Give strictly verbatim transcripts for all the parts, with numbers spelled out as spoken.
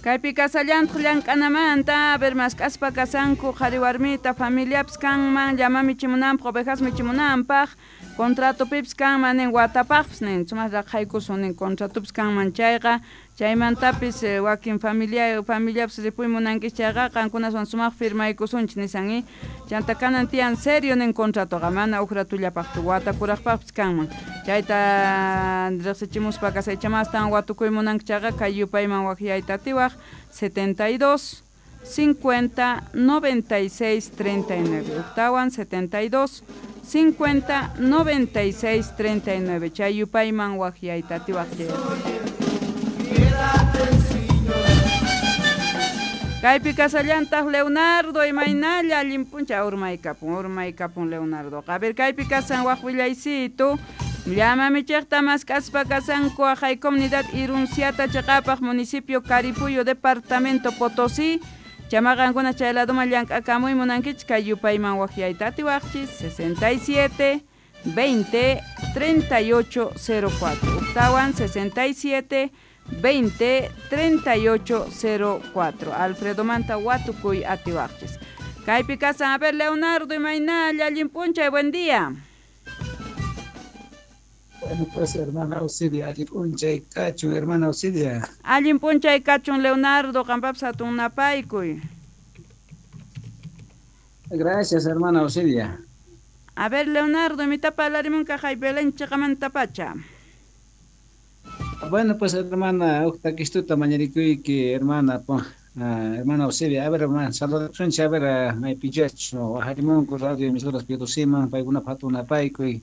Kaypi kasallantaq llank'anamanta, a ver mask'aspa kasanku qhari warmita familiapis kanman llama michimunanpaq ovejas michimunanpaq contratopipis kanman nin watapaqpis nin sumaq raqhaykusun nin contratopis kanman chayqa chaymantapis wakin familia familiapis ripuy munankis chayqa qankunaswan sumaq firmaykusunchis nisan i chanta kanan tiyan serio nin contratoqa mana uj ratullapaqchu wata kuraqpaqpis kanman chayta riqsichimuspa kasaychamastan watukuy munanki chayqa kay yupayman waqyayta atiwaq setenta y dos cincuenta noventa y seis treinta y nueve uktawan setenta y dos cincuenta noventa y seis treinta y nueve chay yupayman waqyayta atiwaq kaypi kasallantaq Leonardo imaynalla allin p'unchay urmaykapun urmaykapun Leonardo a ver kaypi kasan waq willaysitu llama michiqta mask'aspa kasanku aqhay comunidad Irunciata chiqapaq municipio Caripuyo departamento Potosí chamaqankuna chay laduman llank'akamuy munankichik kay yupayman waqyayta atiwaqchis sesenta y siete veinte treinta y ocho cero cuatro uktawan sesenta y siete veinte treinta y ocho cero cuatro Alfredo Manta watukuy atiwaqchis kaypi kasan a ver Leonardo imaynalla allin p'unchay buen día. Bueno, pues hermana Auxilia, allin p'unchay kachun, hermana Auxilia. Allin p'unchay kachun, Leonardo, qampapis hatun napaykuy. Gracias, hermana Auxilia. A ver, Leonardo, imitapa parlarimunqa kay Belén chiqamantapacha. Bueno, pues hermana, uqtakistuta mañarikuyki, hermana, uh, hermana Auxilia. A ver, hermana, saludasunchik, a ver, maypichachu, waqarimunku radio emisoras Piedosiman, paykunapaq hatun napaykuy.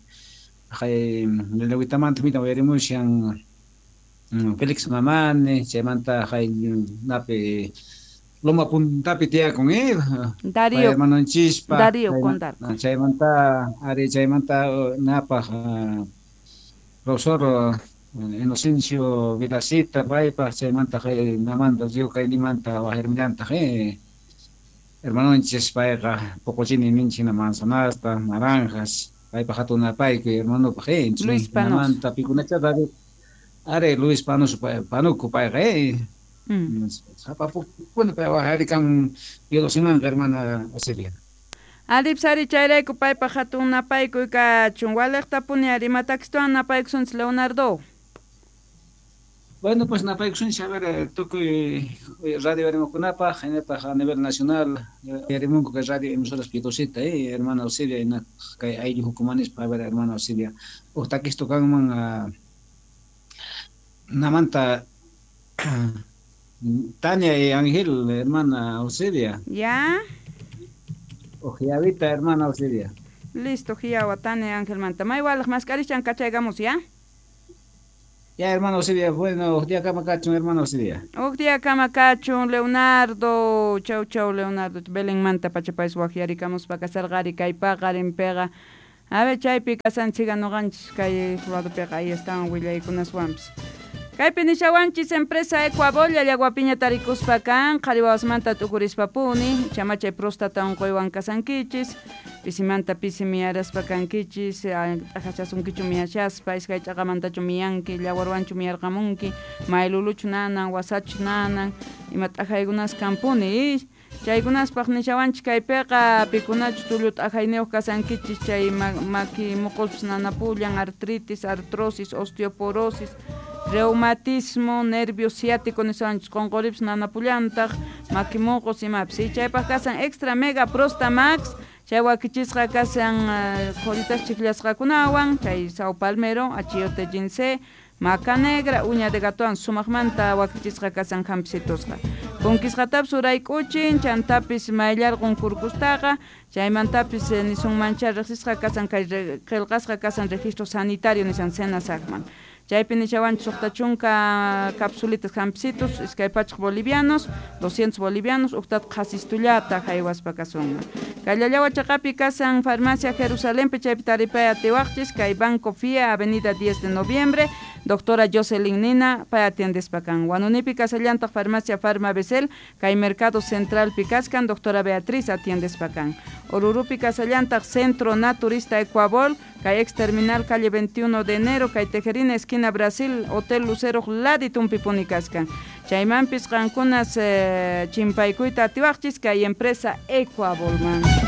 Kay lelawitamanta mita uyarimushan Félix Mamani, chaymanta kay napi Loma Puntapi tiyakun eh Darío hermanonchispa Darío Condarco chaymanta ari chaymanta napaq profesor Inocencio Vilacita paypaq chaymanta kay namanta Río Kaynimanta waqirmillantaq eh hermanonchis payqa poqochini ninchina manzanasta naranjas paypaq hatun napaykuy hermanopaq eh Luis Panos namanta pikunacha are Luis Panos Panuco payqa eh sapapukuna pay waqarikan Piedosimanqa hermana Auxilia. Alipsari chayrayku paypaq hatun napaykuy kachun waliqtapuni ari imatakistawan napaykusunchis Leonardo. Bueno, pues napaykusunchis a ver tukuy radio arimukunapaq hinataq a nivel nacional arimunku kay radio emisoras Piedosita eh hermana Auxilia hinataq kay ayllu hukumanispa a ver hermana Auxilia uq takistu kanman namanta Tania y Ángel, hermana Auxilia. Ya. Ojiavita, hermana Auxilia. Listo, Jiawa, Tania Ángel manta. Maywalaq mask'arishan kachaykamos, ¿ya? Ya, hermano Auxilia, bueno, uj día kama kachun, hermano Auxilia. Uj día kama kachun, Leonardo. Chau, chau, Leonardo. Belén manta pachapais waqyarikamuspa kasarqari kaypaqa rinpiqa. A ver, chaypi kasanchiqa nuqanchis kay ladopiqa ahí estaban willaykunaswanpis. Kaypi nishawanchis empresa Ecuabolla llaguapiña tarikuspa kan qhari wawasmanta t'ukurispapuni chamachay próstata unquywan kasankichis pisimanta pisi miyaraspa kankichis t'ajachasunkichu miyashaspa iskay ch'aqamantachu miyanki llawarwanchu miyarqamunki mayluluchu nanan wasachu nanan ima t'ajaykunas kanpuni chaykunaspaq nishawanchis kaypiqa pikunachu tullu t'ajayniyuq kasankichis chay maki muqulpis nanapullan artritis artrosis osteoporosis reumatismo, nervio ciático niswanchis qunquripis nanapullantaq maki muqus imapis chaypaq kasan extra mega prosta max chay wakichisqa kasan qhullitas chiqllasqakunawan chay sao palmero achiote ginseng maca negra uña de gatowan sumaqmanta wakichisqa kasan hampisitusqa punkisqatapis urayk'uchin chantapis mayllarqun kurkustaqa chaymantapis nisunmancha riqsisqa kasan kay qillqasqa kasan registro sanitario nisan senasaqman chaypi nishawanchis suqta chunka capsulitas hampisitos iskay pachaq bolivianos doscientos bolivianos uqtata qhasistullata haywaspa kasunman kay Llallawa chaqapi kasan farmacia Jerusalenpi chaypi taripay atiwaqchis kay Banco F I A avenida diez de noviembre Doctora Jocelyn Nina pay atiendespa kan. Huanunipi kasallantaq farmacia Farma Becel kay Mercado Centralpi kaskan doctora Beatriz atiendespa kan. Orurupi kasallantaq Centro Naturista Ecuabol kay ex terminal calle veintiuno de enero kay Tejerina esquina Brasil Hotel Lucero laditunpipuni kaskan. Chaymanpis qankunas eh, chimpaykuyta atiwaqchis kay empresa Ecuabolman.